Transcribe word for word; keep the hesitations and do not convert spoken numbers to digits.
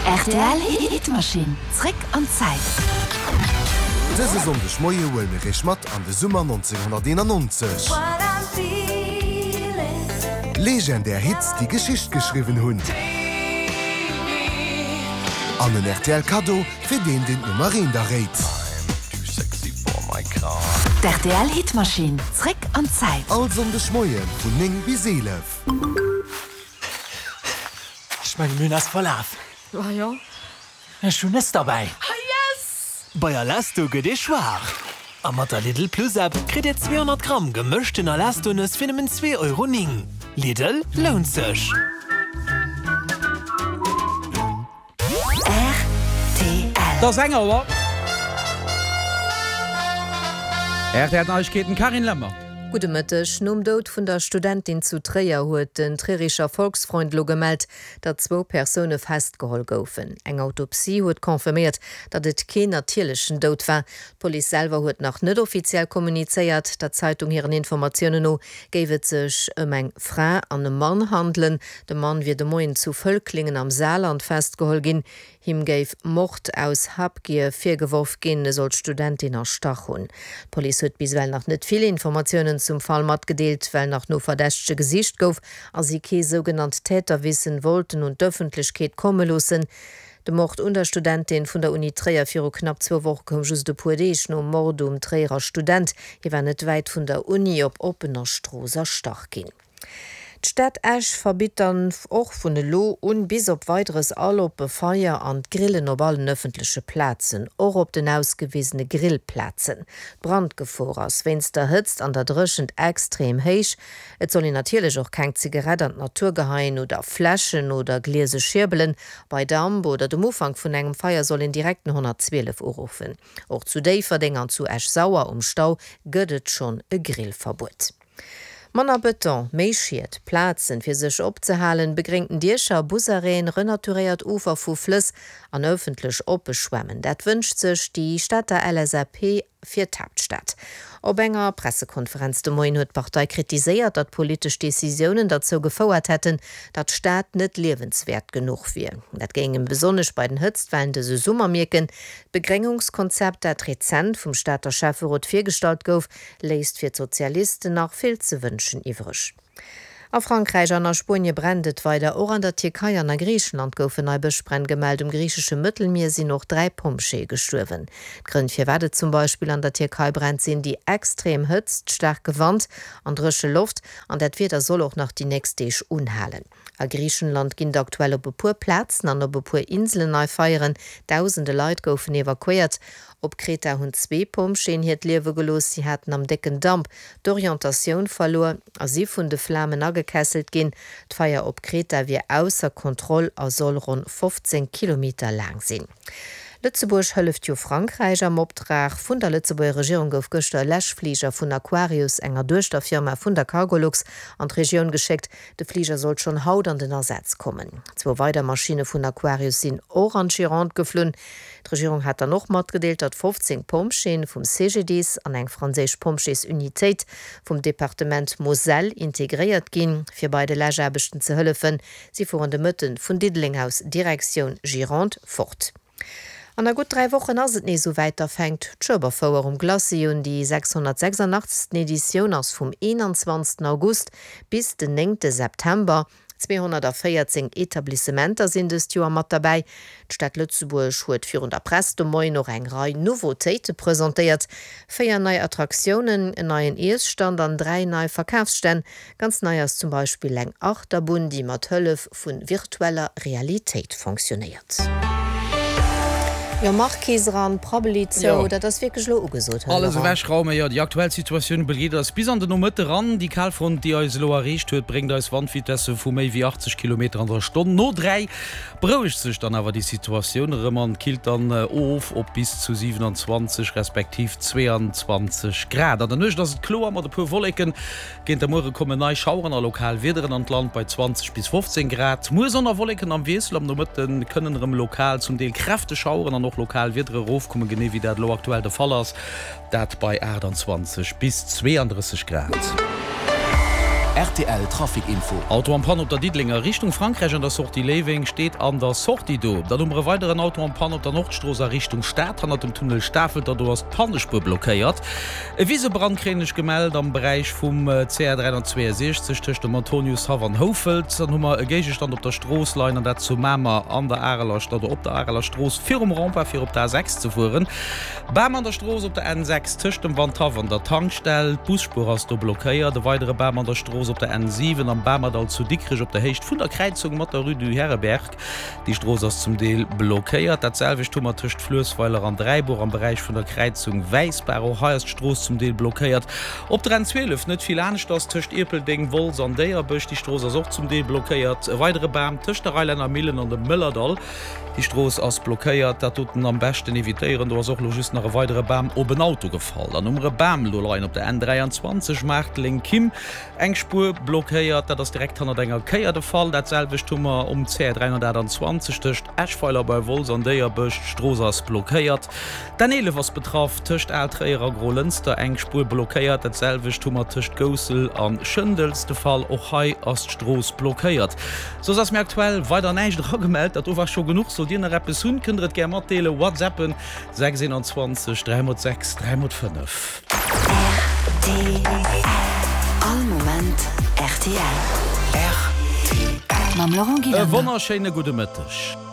Rtl Hitmaschinn, zréck an d'Zäit. Dëse Sonndeg Moie huele mir iech mat an de Summer nonzénghonnerteenannonzeg. Legendär Hits, déi Geschicht geschriwwen hunn. An en rtl Kaddo fir deen, deen d'Nummer eent erréit. D'RTL Hitmaschinn, zréck an d'Zäit. All Sonndeg Moie vun néng bis eelef. Ech mengen, mir hunn eis verlaf. Ah jo? Ech hunn Nëss derbäi. Ah yes! Bei Alesto gëtt ee schwaach. A mat der Lidl Plus App kritt Dir zweehonnert Gramm gemëschten Alesto-Nëss fir nëmmen zwee Euro néng. Lidl, lount sech! Rtl. Et ass eng Auer. R T L Neiegkeeten, Carine Lemmer. Gudde Mëtteg. Nom Doud vun der Studentin zu Tréier huet den Trierischer Volksfreund elo gemellt, datt zwou Persoune festgeholl goufen. Eng Autopsie huet confirméiert, datt et keen natierlechen Doud war. D'Police selwer huet nach net offiziell kommunizéiert. Der Zeitung hiren Informatiounen no géif et sech ëm eng Fra an e Mann handelen. De Mann wier de Moien zu Völklingen am Saarland festgeholl ginn. Him géif Mord aus Habgier virgeworf ginn, e soll d'Studentin erstach hunn. D'Police huet bis ewell nach net vill Informatiounen zum Fall matgedeelt, well nach no Verdächtege gesicht gouf a si kee sougenannt Täterwissen wollten un d'Ëffentlechkeet komme loossen. De Mord un der Studentin vun der Uni Tréier viru knapp zwou Woche koum just e puer Deeg nom Mord um Tréierer Student. Hie war net wäit vun der Uni op oppener Strooss erstach ginn. D'Stad Esch verbitt dann och vun elo un bis op Weideres all oppe Feier an d'Grillen op allen ëffentleche Plazen, och op den ausgewisene Grillplazen. D'Brandgefor ass wéinst der Hëtzt an der Dréchent extrem héich. Et soll een natierlech och keng Zigarett an d'Natur geheien oder Fläschen oder gliese Schierbelen. Bei Damp oder dem Ufank vun engem Feier soll een direkt den honnertzwielef uruffen. Och zu Déifferdeng an zu Esch-Sauer um Stau gëtt et schonn e Grillverbuet. Manner Bëton, méi Schied, Plazen, fir sech opzehalen, begréngten Diecher, Busarrêten, renaturéiert Ufer vu Flëss an ëffentlech oppe Schwämmen, dat wënscht sech déi Stater L S A P fir d'Haaptstad. Op enger Pressekonferenz de Moien huet d'Partei kritiséiert, datt politesch Decisiounen derzou gefouert hätten, datt d'Stad net liewenswäert genuch wier. Dat géing ee besonnesch bei den Hëtztwellen dëse Summer mierken. D'Begréngungskonzept, dat rezent vum Stater Schäfferot virgestallt gouf, léisst fir d'Sozialisten nach vill ze wënschen iwwreg. A Frankräich an a Spuenie brennt et weider. Och an der Tierkei an a Griichenland goufen nei Bëschbränn gemellt. Um griichesche Mëttelmier sinn och dräi Pompjeeë gestuerwen. D'Grënn firwat et zum Beispill an der Tierkei brennt sinn déi extrem Hëtzt, staarke Wand an dréche Loft. An dat Wieder soll och nach déi nächst Deeg unhalen. A Griichenland ginn et aktuell op e puer Plazen an op e puer Inselen nei Feieren. Dausende Leit goufen evakuéiert. Op Kreta hunn zwee Pompjeeën hiert Liewe gelooss. Si haten am décken Damp d'Orientatioun verluer a si vun de Flamen agekesselt ginn. D'Feier op Kreta wier ausser Kontroll a soll ronn fofzéng Kilometer laang sinn. Lëtzebuerg hëlleft jo Frankräich. Am Optrag vun der Lëtzebuerger Regierung gouf gëschter e Läschfliger vun Aquarius, enger Duechterfirma vun der Cargolux, an d'Regioun geschéckt. De Fliger sollt schonn haut an den Asaz kommen. Zwou weider Maschinne vun Aquarius sinn och an d'Gironde geflunn. D'Regierung hat dann och matgedeelt, datt fofzéng Pompjeeën vum C G D I S an eng franséisch Pompjeesunitéit vum Departement Moselle integréiert ginn, fir bei de Läschaarbechten ze hëllefen. Si fueren de Mëtten vun Diddeleng aus Direktioun Gironde fort. An a gutt dräi Wochen ass et nees esou wäit, da fänkt d'Schueberfouer um Glacis un. Déi sechshonnertsechsandachtzegsten Editioun ass vum eenanzwanzegsten August bis den néngte September. Zweehonnertvéierzéng Etablissementer sinn dëst Joer mat derbäi. D'Stad Lëtzebuerg huet virun der Press de Moien och eng Rei Nouveautéite presentéiert, Véier nei Attraktiounen, en neien Iesstand an dräi nei Verkafsstänn. Ganz nei ass zum Beispill eng Achterbunn, déi mat Hëllef vu virtueller Realitéit fonctionéiert. Jo, Marquise eran, Prabbeli zou, dat ass wierklech elo ugesot, Här Alles Laurent. ewechraumen, jo. Déi aktuell Situatioun begleet eis bis an den Nomëtte ran. Déi Kalfront, déi eis elo erreecht huet, bréngt eis Wandvitesse vu méi wéi achtzeg Kilometer an der Stonn. No dräi berouegt sech dann awer déi Situatioun erëm an killt dann of op bis zu siewenundzwanzeg respektiv zweeanzwanzeg Grad. An der Nuecht ass et kloer mat e puer Wolleken. Géint de Muere kommen nei Schaueren a lokal Wiederen an d'Land bei zwanzeg bis fofzéng Grad. Muer Sonn a Wolleken am Wiessel, am Nomëtte kënnen erëm lokal zum Deel kräfteg Schaueren an och lokal Wiedere erofkommen, genee wéi dat elo aktuell de Fall ass, dat bei aachtanzwanzeg bis zweeandrësseg Grad. Rtl Trafic Info. Auto en panne op der Diddelenger Richtung Frankräich an der Sortie Léiweng steet an der Sortie do. Dann hu mer e weideren Auto en panne op der Nordstrooss a Richtung Stad hannert dem Tunnel Stafelter, do ass d'Pannespuer blockéiert. E Wisebrand kréien ech gemellt am Beräich vum C R dräihonnertzweeënsechzeg tëscht dem Antoniushaff an Houfelt. Dann hu mer e Géigestand op der Strooss leien an dat zu Mamer an der Areler oder op der Areler Strooss virum Rempart fir op der A sechs ze fueren. Bam an der Strooss op der N sechs tëscht dem Wandhaff an der Tankstell, d'Busspuer ass do blockéiert. E weidere Bam an der Strooss op der N siwen am Bamerdall zu Dikrech op der Héicht vun der Kräizung mat der Rue du Herreberg. Déi Strooss ass zum Deel blockéiert. Dat selwecht hu mer tëscht Fluessweiler an Dräibuer am Beräich vun der Kräizung Wäissbaach. Och hei ass d'Strooss zum Deel blockéiert. Op der N zwielef net vill aneschters tëscht Ierpeldeng, Wolz an Déierbech. Déi Strooss ass och zum Deel blockéiert. E weidere Bam tëscht der Reilänner Millen an dem Mëllerdall. Déi Strooss ass blockéiert. Dat doten am beschten evitéieren. Do ass och lo just nach e weidere Bam op en Auto gefall. Dann hu mer e Bam lo leien op der N dräianzwanzeg, Maarteleng, Kim. Eng Spuer blockéiert. Dat ass direkt hannert enger Kéier de Fall. Dat selwecht hu mer um C dräihonnertaachtanzwanzeg tëscht Eschweiler bei Wolz an Déierbech. D'Strooss ass blockéiert. D'N eelef ass betraff tëscht Al-Tréier a Grolënster. Eng Spuer blockéiert. Dat selwecht hu mer tëscht Goussel a Schëndels de Fall. Och hei ass d'Strooss blockéiert. Soss ass mir aktuell weider näischt eragemellt. Dat do war scho genuch. Sollt Dir nach eppes hunn, kënnt Der et gär matdeelen. Whatsappen, sechs eenanzwanzeg dräi mol sechs dräi mol fënnef. Rtl, All Moment rtl. Mam Laurent E Gillander. wonnerschéine gudde Mëtteg.